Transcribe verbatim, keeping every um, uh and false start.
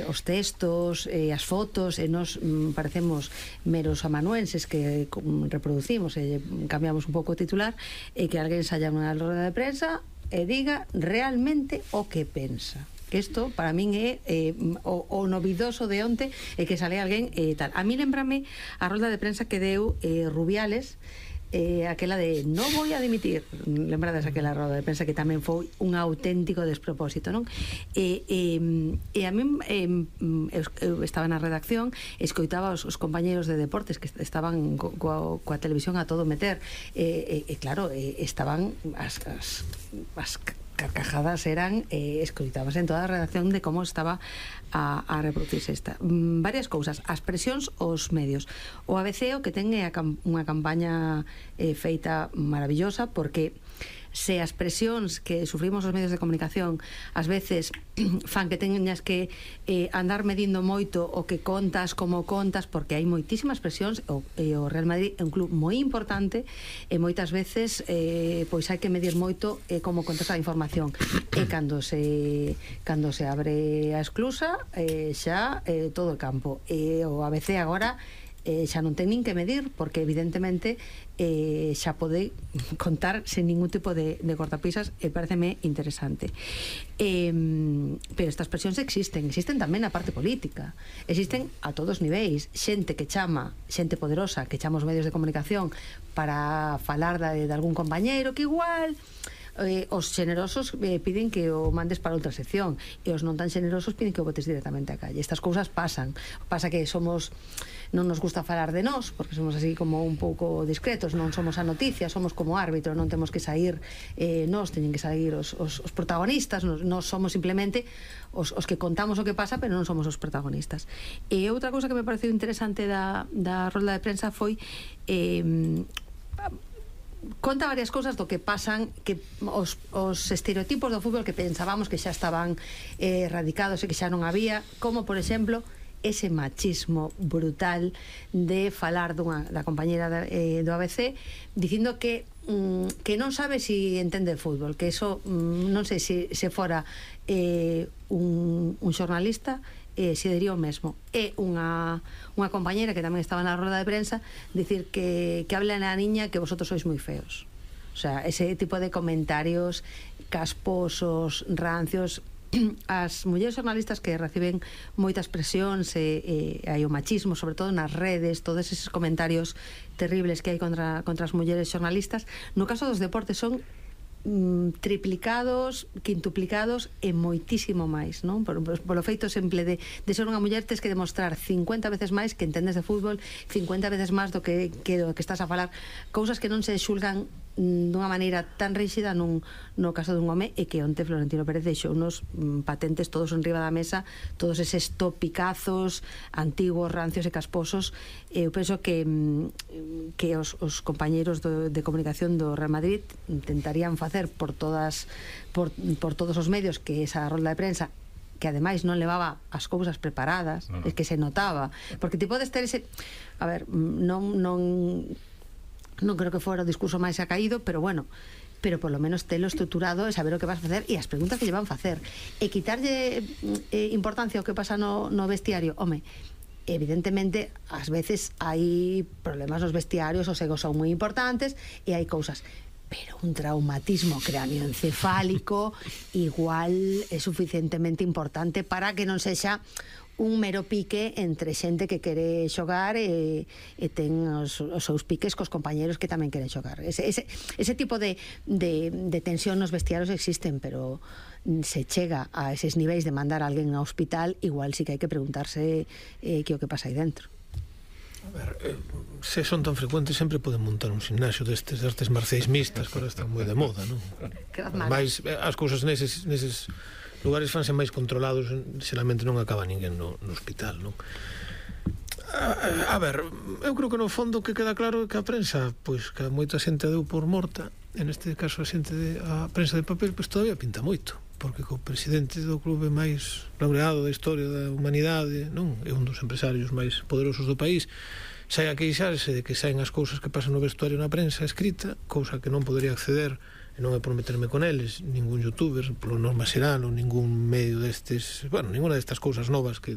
os textos e as fotos, e nos mm, parecemos meros amanuenses que mm, reproducimos e cambiamos un pouco o titular, e que alguén saia nunha roda de prensa e diga realmente o que pensa. Que isto para min é eh, o, o novidoso de onte, é que sale alguén e eh, tal. A mí lembrame a roda de prensa que deu eh, Rubiales, eh, aquela de no voy a dimitir, lembrades aquela roda de prensa que tamén foi un auténtico despropósito, non? E, e, e a mí eh, eu estaba na redacción, escoitaba os, os compañeros de deportes que estaban co, co, coa televisión a todo meter, e, e, e claro, e, estaban as, as, as carcajadas eran, eh, escoitabas en toda a redacción de como estaba a, a reproducirse esta. Mm, varias cousas, as presións aos medios. O A B C o que ten é a, unha campaña eh, feita maravillosa, porque se as presións que sufrimos os medios de comunicación ás veces fan que teñas que eh, andar medindo moito o que contas, como contas, porque hai moitísimas presións, o, e o Real Madrid é un club moi importante e moitas veces eh, pois hai que medir moito eh, como contas a información, e cando se cando se abre a esclusa eh, xa eh, todo o campo, e o A B C agora eh, xa non ten nin que medir, porque evidentemente eh, xa pode contar sen ningún tipo de, de cortapisas, e pareceme interesante. Eh, pero estas presións existen, existen tamén na parte política, existen a todos os niveis, xente que chama, xente poderosa que chama os medios de comunicación para falar de, de algún compañeiro que igual Eh, os xenerosos eh, piden que o mandes para outra sección, e os non tan xenerosos piden que o botes directamente á calle. Estas cousas pasan. Pasa que somos, non nos gusta falar de nós, porque somos así como un pouco discretos, non somos a noticia, somos como árbitro, non temos que sair eh, nós, teñen que sair os, os, os protagonistas, nós, nós somos simplemente os, os que contamos o que pasa, pero non somos os protagonistas. E outra cousa que me pareceu interesante da, da rolda de prensa foi eh, conta varias cousas do que pasan, que os, os estereotipos do fútbol que pensábamos que xa estaban eh, erradicados e que xa non había, como por exemplo ese machismo brutal de falar dunha, da compañera da, eh, do A B C dicindo que mm, que non sabe si entende fútbol, que eso mm, non sei se, se fora eh, un, un xornalista eh, se diría o mesmo. É unha, unha compañera que tamén estaba na roda de prensa dicir que, que habla na niña que vosotros sois moi feos. O sea, ese tipo de comentarios casposos, rancios. As mulleres xornalistas que reciben moitas presións e, e hai o machismo, sobre todo nas redes, todos eses comentarios terribles que hai contra, contra as mulleres xornalistas, no caso dos deportes son triplicados, quintuplicados e moitísimo máis, non? Por, por, polo feito sempre de, de ser unha muller tes que demostrar cincuenta veces máis que entendes de fútbol, cincuenta veces máis do que, que, do que estás a falar, cousas que non se xulgan dunha maneira tan ríxida nun, no caso dun home, e que onte Florentino Pérez deixou unos mm, patentes todos en riba da mesa, todos eses topicazos antigos, rancios e casposos. Eu penso que mm, que os, os compañeiros do, de comunicación do Real Madrid intentarían facer por todas por, por todos os medios que esa rolda de prensa, que ademais non levaba as cousas preparadas, no, no. É que se notaba, porque ti podes ter ese, a ver, non non non creo que fora o discurso máis acaído, pero bueno, pero por lo menos telo estruturado e saber o que vas a facer e as preguntas que lle van facer, e quitarlle eh, importancia ao que pasa no, no vestiario. Home, evidentemente ás veces hai problemas nos vestiarios, os egos son moi importantes e hai cousas, pero un traumatismo cráneoencefálico igual é suficientemente importante para que non sexa un mero pique entre xente que quere xogar e, e ten os, os seus piques cos compañeros que tamén queren xogar. Ese, ese, ese tipo de, de, de tensión nos vestiarios existen, pero se chega a eses niveis de mandar a alguén ao hospital, igual sí que hai que preguntarse eh, que o que pasa aí dentro. A ver, eh, se son tan frecuentes sempre poden montar un gimnasio destes, destes marciais mixtas, que ahora están moi de moda, non? Ademais, as cousas neses, neses lugares fanse máis controlados, xeralmente non acaba ninguén no, no hospital, non? A, a ver, eu creo que no fondo que queda claro é que a prensa, pois que moita xente deu por morta, en este caso a xente de, a prensa de papel, pois todavía pinta moito, porque co presidente do clube máis laureado da historia da humanidade, non? É un dos empresarios máis poderosos do país, sai a queixarse de que saen as cousas que pasan no vestuario na prensa escrita, cousa que non podería acceder, e non é por meterme con eles, ningún youtuber, polo norma xeral, ou ningún medio destes, bueno, ninguna destas cousas novas que